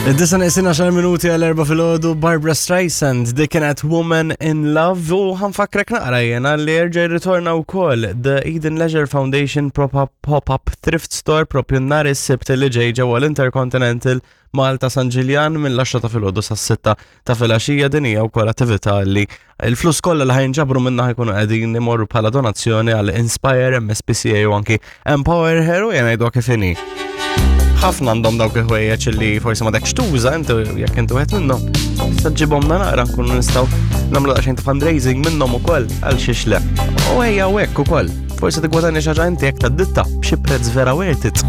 Id-disa neqsin 10 minuti għal erba filgħodu Barbara Streisand dik kienet Woman in Love u ħanfakrek naqra jena li jerġa' jirritorna wkoll The Eden Leisure Foundation Pop-Up Pop-Up Thrift Store propju nhar is-Sibt li ġej ġewwa l-Intercontinental Malta San Ġiljan mill-10 ta' filgħodu sas-6 ta' filgħaxija. Din hija wkoll attività li l-flus kollha li ħajnġabru minnha ħajkunu qegħdin imorru bħala donazzjoni għal Inspire, MSPCA u anki Empower Her u jena jgħidu kif inhi. Ħafna għandhom dawk il-ħwejjeġ li forsi ma dekx tuża inti jekk inti wieħed minnhom. Issa ġibhom naqra nkunu nistgħu nagħmlu daqsxejn ta' fundraising minnhom ukoll għal xiex le. U ejja hekk ukoll. Forsi tigwadanja xi ħaġa inti jekk tad-ditta b'xi prezz vera worth it.